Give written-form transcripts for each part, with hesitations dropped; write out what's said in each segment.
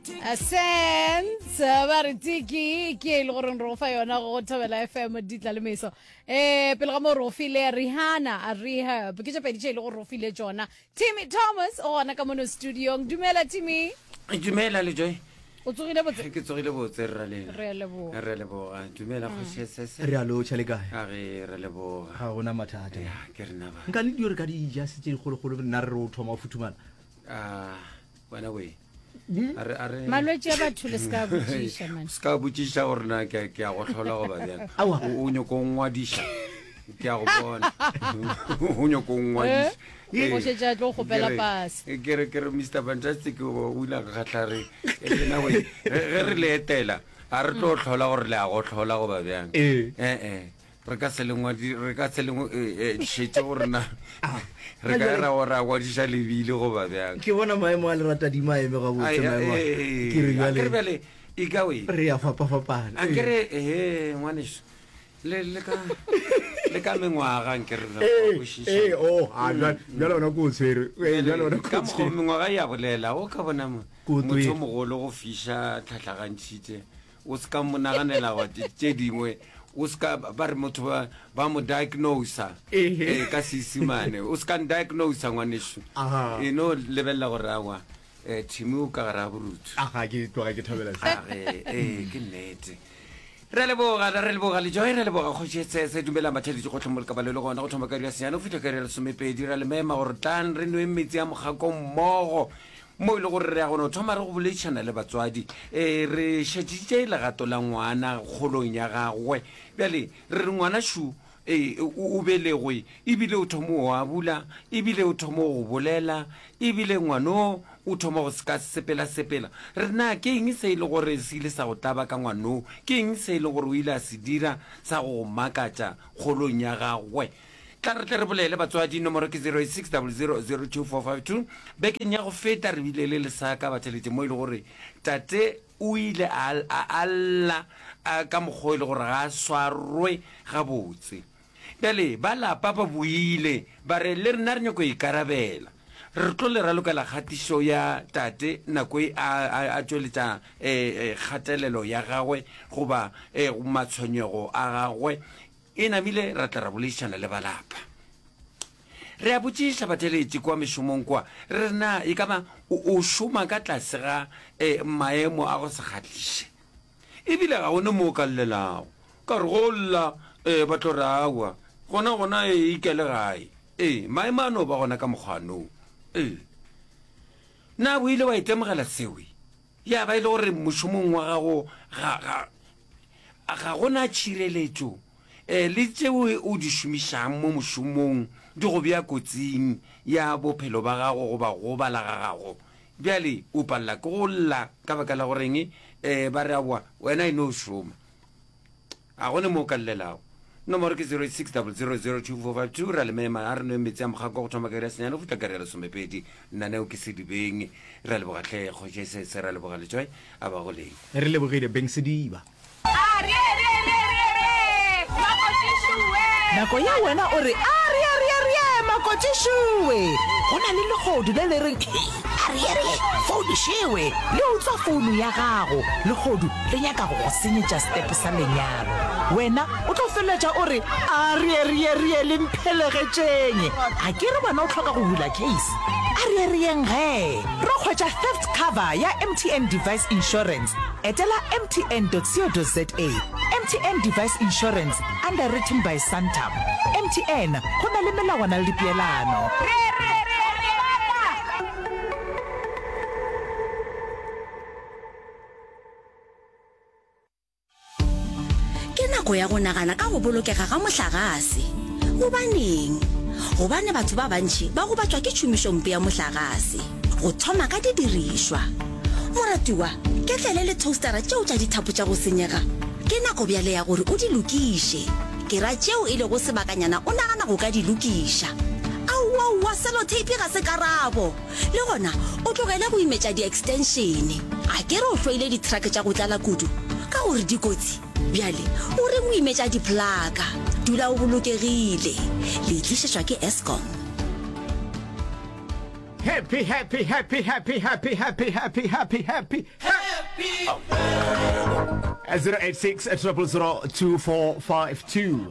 Sense ba re tiki ke e le goreng re go fa yona go thobela fm ditla le meso um pele ga moo re go file rihanna a rehab ke tše pedi tše e le gore re go file tšona timmy thomas o gona ka mono studiong dumela timmy Dumela le Joy. O tsogile botse? Ke tsogile botse rra lena. Re a leboga. Re a leboga. Dumela kgoši SS. Re a lotšha le kae? A re re leboga. Ga gona mathata. Ya, ke rena ba. Nka le dio re ka di ja se tše dikgolokgolo nna re re o thoma o futhumala. Ah, wena we. Hmm? A re a re Malwetši a batho le se ka botšiša man. Se ka botšiša gore na ke ke a go hlola goba bjang. Aowa. O o nyoko ngwadiša. Ke a go bona. O nyoko ngwadiša. Eh? O šetše a tlo kgopela pase. Ke re ke re Mr Fantastic o o ile a kgahla re lena we ge re le etela a re tlo hlola gore le a go hlola goba bjang. Ee. Eh eh re ka se le ngwadi re ka se le eh, eh, šetše gore na re ka ra ra ngwadiša lebile goba bjang. Ke bona maemo a leratadima a eme gabotse Ai, maemo a. eh, Ke re a ke re bjale bjale e ka we. re ya fapafapana. A ke re eh ngwaneso le le ka le ka mengwaga nke re Ee, kwešiša. ee, oh, a jwale jwale ona ko o tshwere. Ee, jwale ona ko ka o mokgwa tshwere. mengwaga ya bolela o ka bona mo- Ko motho twele. o mogolo go fiša tlhatlhagantšhitše o se ka mo naganela go tše dingwe o se ka ba re motho ba ba mo diagnosa Ehe. eh, ka seisimane o se ka ndiagnosa ngwaneso Aha. e no lebelela gore awa um thimi o ka gare a borutho Aga ke tloga ke thabela se. Age, ee, ke nnete. Re a leboga, re leboga Lejoe, re leboga Kgoši Sese, dumelang batheeletši gohle mo le ka ba le le gona, go thoma ka iri ya senyane go fihla ka iri ya lesomepedi. Re a le mema gore tlang re nweng metsi a mokgako mmogo, mo e le gore re ya go no thoma re go boledišana le batswadi. Ee, re šetšitše legato la ngwana kgolong ya gagwe. Bjale re re ngwana šu, Ee, o, o belegwe, ebile o thoma go abula, ebile o thoma go bolela, ebile ngwano o thoma go seka sepela-sepela. Re na ke eng se e le gore se ile sa go tlaba ka ngwano? Ke eng se e le gore o ile a se dira sa go go makatša kgolong ya gagwe? Tla re tle re bolele, batswadi. Nomoro ke 086 00 02452. Bekeng ya go feta re bile le lesaka batheletše mo e le gore tate O ile a, a, a lla a, ka mokgwa o e le gore ga a swarwe gabotse. Bjale ba lapa ba boile, ba re, Le rena re nyako ikarabela. Re tlo le ralokela kgatišo ya tate nako e a, a, a tšweletša e, e, kgatelelo ya gagwe goba e, matshwenyego a gagwe. E namile ra tla ra boledišana le ba lapa. Re a botšiša batheeletši kua mešomong kua, re re na e ka ba o, o šoma ka tlase ga e, maemo a go se kgahliše? Ebile ga go ne mo o ka llelago, ka gore go lla e, ba tlo re aowa, gona gona e ikele gae. Ee, maemo a no ba gona ka mokgwa no. Ee. Na o ile wa itemogela seo? Ya ba e le gore mošomong wa gago ga, ga, ga go na tšhireletšo um le tšeo o di šomišang mo mošomong di go bea kotsing ya bophelo ba gago goba go gobala ga gago. Bjale o palela ke go lla ka baka la goreng um ba re aowa wena e no šoma. Ga go ne mo o ka llelago. Nomoro ke 086 000 2452. Ra le mema, a re nweng metsi a mokgako go thoma ka iri ya senyane go fihla ka iri ya lesomepedi. Lenaneo ke Sedibeng. Re a leboga hle Kgoši Sese, re a leboga Letšoe, a ba go leng. Re lebogile Beng Sediba. Nako ye wena o re, Arieerieerie, makotšišoe! Go na le lehodu le le reng, Arieerie, founu šewe! Le utswa founu ya gago. Lehodu le nyaka go go senyetša setepe sa lenyalo. Wena o tlo feleletša o re, Arieerieerie, le mphelegetšeng! A ke re wena o hloka go bula case? Arieerieng gee! Ro hwetša theft cover ya MTN Device Insurance. Etela mtn.co.za. MTN Device Insurance, underwritten by Santam. MTN, go na le melawana le dipeelano. Ke nako ya go nagana ka go bolokega ga mohlagase. Gobaneng? Gobane batho ba bantši ba gobatšwa ke tšhomišompe ya mohlagase, go thoma ka didirišwa. Moratiwa, ketlele le toastara tšeo tša dithapo tša go senyega, ke nako bjale ya gore o di lokiše. Ke ra tšeo e lego sebakanyana o nagana go ka di lokiša. Aowaowa, seloteipi ga se karabo! Le gona o tlogele go imetša di-extension. A ke re o hloile di-truck tša go tlala kudu ka gore di kotsi? Bjale o reng o imetša di-plaka? Dula o bolokegile. Le e tlišetšwa ke Eskom. Happy, happy, happy, happy, happy, happy, happy, happy, happy, happy. 086 000 2452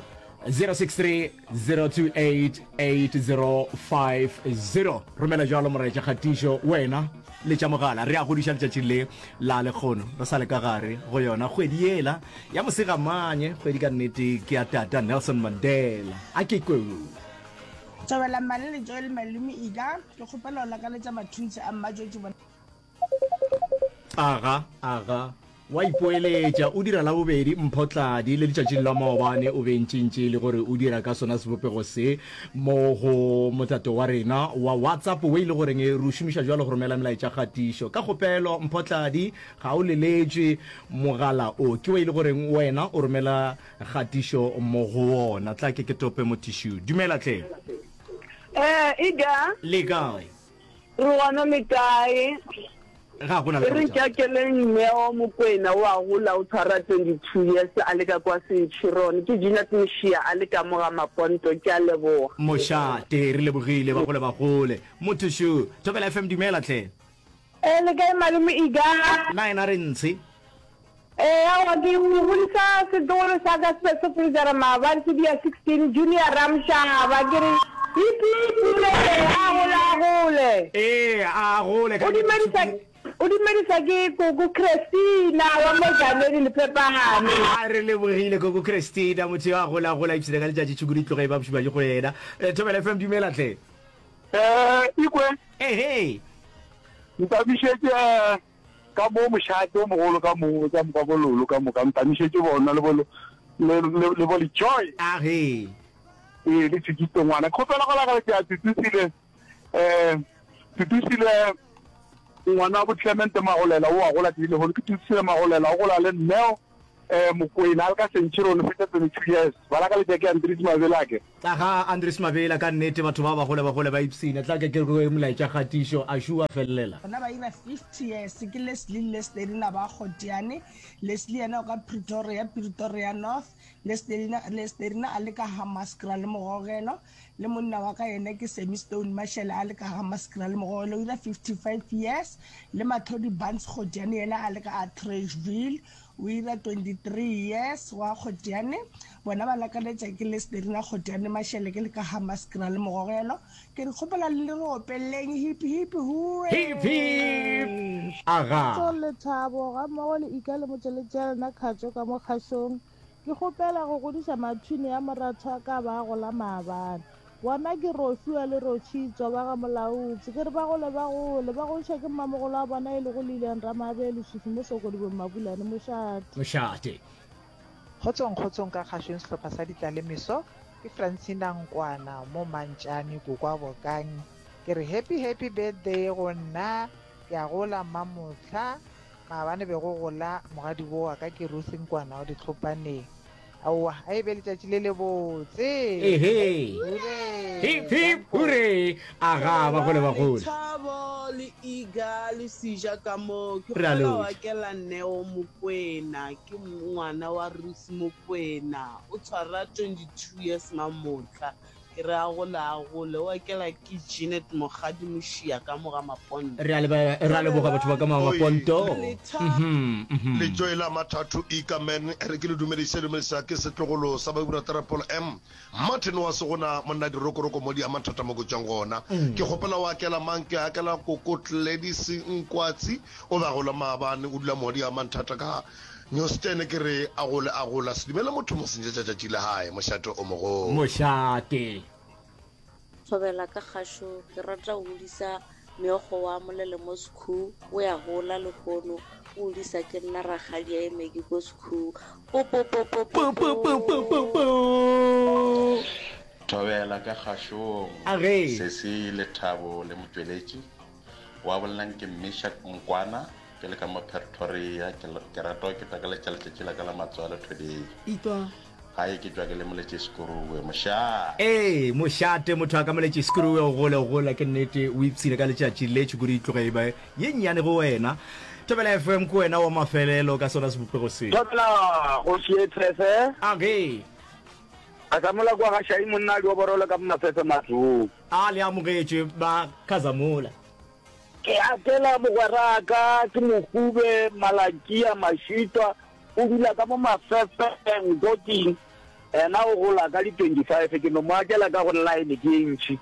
063 028 8050 romela jalo moraetša kgatišo wena le tša mogala re a godiša letšatši le la lekgono re sa le ka gare go yona kgwedi yela ya mosegamanye kgwedi ka nnete ke ya tata Nelson Mandela a ke kwe Thobela Mmale le Joel Malome Ika, ke kgopela go lakaletša mathuntshi a Mmatšotši bona. Aga, aga, wa ipoeletša, o dira la bobedi Mpho Tladi, le letšatšing la maobane o be ntšintši le gore o dira ka sona sebopego se mo go motato wa rena wa WhatsApp wo e le goreng re o šomiša bjalo go romela melaetša kgatišo. Ka kgopelo Mpho Tladi, ga o leletšwe mogala o, ke wo e le goreng wena o romela Kgatišo mo go wona. Tla ke ke tope mo tissue. Dumela tle. Eh, Ida. Le kae? Re gona le kae? Ga gona le Re nkakeleng Neo Mokwena o a gola o tshwara 22 years a le ka kwa Centurion. Ke Jeanette Moshia a le ka mo ga Maponto. Ke a leboga. Mošate, re lebogile ba gole ba gole. Motho šo. Thobela FM dumela tle. Eh, le kae malome Ida? Na ena re ntshe. Ee, aowa, ke godisa setlogolo sa ka se be se freezera maabane se dia 16, Junior Ramshaba, ke re hip hip hurray, a gole a gole. Ee, a gole ka O dumedisa, o dumedisa ke koko Christina wa mo Janedi Lephepane. A re lebogile koko Christina, motho yo a gola a gola ipshina ka letšatši tšhukudu e tloge e ba bošubaši go yena. Thobela FM dumela hle. Eh, ikwe. Ehe. Ntamišetše Ka mo mošate o mogolo ka mo, ka moka bo Lolo ka moka, ntamišetše bona le bo, le, le, le bo Lejoy. A ge. Ee, le Tshikito ngwana. Ke kgopela go lakaletša Tutusile, eh, Tutusile ngwana wa bo Clement Magolela, o a gola tšatši lehono. Ke Tutusile Magolela, o gola le Neo. Eh, Mokwena a le ka Centurion o fetša 22 years. Ba lakaletša ke Andries Mabela ke. Aga Andries Mabela ka nnete batho ba bagole bagole ba ipsina. Tla ke ke re molaetša kgatišo a šuwa felelela. Bona ba ira 50 years ke Leslie le Lestelina ba Kgotiane. Leslie yena o ka Pretoria, Pretoria North. Lestelina, Lestelina a le ka Hammanskraal Mogogelo. Le monna wa ka yena ke Sammy Stone Mashele a le ka Hammanskraal Mogogelo o ira 55 years. Le Mathodi Barnes Kgotiane yena a le ka Atteridgeville. O ira 23 years wa Kgotiane. Bona ba lakaletša ke le Sderina Kgotiane Mashele ke le ka Hammanskraal Mogogelo. Ke re kgopela le re opeleng hip hip hooray. Hip hip! Aga. Kgotsong Lethabo gammogo le Ika le motšweletši ya lena Kgatšo ka mo kgašong. Ke kgopela go godiša mathwini a moratho wa ka ba gola maabane. Bona ke Rofiwa le Rochitswa ba ga Molaotsi. Ke re ba gole ba gole, ba godišwa ke mmamogolo wa bona e lego Lilian Ramabe Leswiswi mo Sokodibong Mabulane Mošate. Mošate. Kgotsong kgotsong ka kgašong sehlopha sa Ditlalemeso ke Francina Nkwana mo Mantšane Kokwa Bokang ke re happy happy birthday go nna ke a gola mmamohla maabane be go gola mogadibo wa ka ke Ruth Nkwana wa Ditlhopaneng Aowa, a e be letšatši le lebotse. Ehe. Hurray. Hip hip hurray. Aga ba gole ba gole. Lethabo le Iga le Seja ka mo. Ke Re a kgopela wa lotšha. kela Neo Mokwena, ke ngwana wa Ruth Mokwena. O tshwara 22 years mamohla. Ke re a gole a gole. O akela ke Jeanette Mokgadi Mošia ka mo ga Maponto. Re a leba, re a leboga batho ba ka mo ga Maponto. Mhm, mhm. Letšoi la Mathatho Ika Man re ke le dumedise dumedisa ke setlogolo sa Babura Terapolo M Martin wa Segona monna dirokoroko mo di a mathata mo ke tšwang gona ke kgopela o akela mang ke akela koko Gladys Nkwatsi o be a gola maabane o dula mo di a manthata ka Newstene ke re a gole a gola se dumele motho mo senyetša tšatši la hae mošate o mogolo. Mošate. Thobela ka kgašo ke rata go hodisa meokgo wa molele mo sekhu o ya gola lehono o hodisa ke nna rakgadi ya emeki ko sekhu po-po-po-po-po-po. Thobela ka kgašong Age. Sesi Lethabo le Motšweletši wa bolelang ke Meshack Nkwana Ke le ka mo Pretoria, ke, ke rata go keteka letša letšatši la ka la matswalo today. Itwa. Gae ke tšwa ke le Moletšeskuruwe. Mošate. Ee, mošate, motho a ka Moletšeskuruwe o gole, o gola, ke nnete, o ipshine ka letšatši le, tšhukudu e tloge e ba ye nnyane go wena. Thobela FM ke wena wa mafelelo ka sona sebopego se. Thobela, kgoši ye tshese. Age. Khazamola kua ga Shai monna a dioborolo ka Mafefe Matlou. A le amogetšwe ba Khazamola. Ke akela mogweraka, ke Mohube Malakia Mashitwa, o dula ka mo Mafefeng, Koking. Yena o gola ka di 25, ke no mo akela ka gore line ke ye ntši,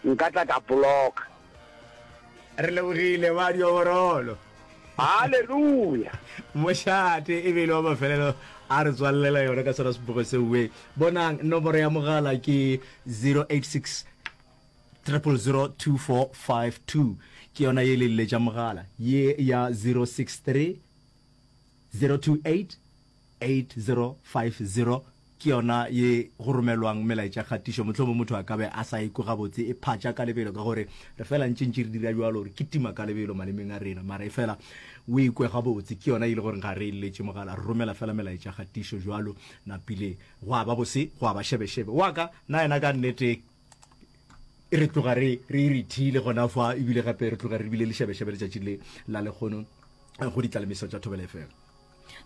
nka tla ka blocka. Re lebogile ba dioborolo. Haleluya! Mošate e be e le wa mafelelo a re tswalelela yona ka sona sebogo seo. We bonang, nomoro ya mogala ke 086 000 2452 ke yona ye le letša mogala ye ya 063 028 8050 ke yona ye go romelwang melaetša kgatišo. Mohlomong motho a ka be a sa ikwe gabotse e phatša ka lebelo ka gore re fela ntše ntše re dira bjalo re kitima ka lebelo malemeng a rena mara e fela o ikwe gabotse ke yona e le gore ga re e letše mogala re romela fela melaetša kgatišo jwalo napile gwa ba bose gwa ba šebešebe wa ka na yena ka nnete re tloga re re irithile gona fa ebile gape re tloga re bile le šebešebe letšatši le la lekgono go ditlalemiso tša Thobela FM.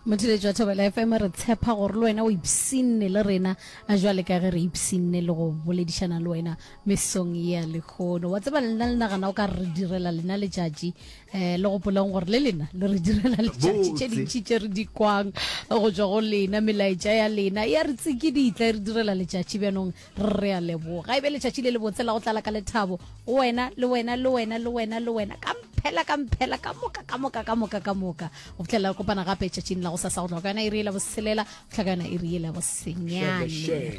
Motheletši wa Thobela FM re tshepa gore le wena o ipsinne le rena jwale ka ge re ipsinne le go boledišana le wena mesong ya lekgono. Wa tseba lena le nagana o ka re direla lena letšatši um le gopoleng gore le lena le re direla letšatši tše dintši tše re di kwang go tšwa go lena melaetša ya lena ya re tsikiditla e re direla letšatši bjanong Re a leboga. E be letšatši le lebotse la go tlala ka lethabo go wena, le wena, le wena, le wena, le wena, ka mphela, ka mphela, ka moka, ka moka, ka moka, ka moka. Go fihlela re kopana gape tšatšing la gosasa go tloga ka yona iri yela boselela go fihla ka yona iri yela bosenyane.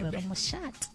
Re re mošate.